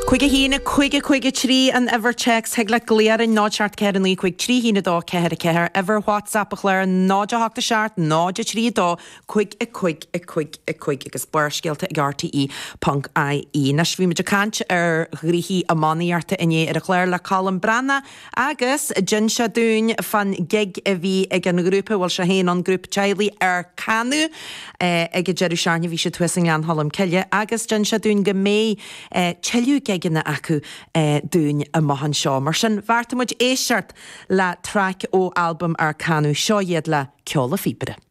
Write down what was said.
5 1 5 5 3 an uimhir téacs thig leat glaoch orainn 0 7 4 9 5 3 1 2 4 4 uimhir WhatsApp an chláir 0 8 7 0 3 2 5 5 5 5 agus Barrscéalta ag RTÉ ponc IE. Anois bhí muid ag caint ar ghnoithí iománaíochta inné ar an chlár le Colm Breathnach Agus d'inis sé dúinn fán gig a bhí ag an ghrúpa a bhfuil sé féin ann, grúpa teaghlaigh Ár Canadh, ag an deireadh seachtaine. Bhí siad thuas i nGleann Cholm Cille agus d'inis sé dúinn go mbeidh tuilleadh gigeanna acu dúinn amach anseo. Mar sin, bheartaigh muid éisteacht le traic ó albam Ár Canadh. Seo iad le Ceol a' Phíobaire.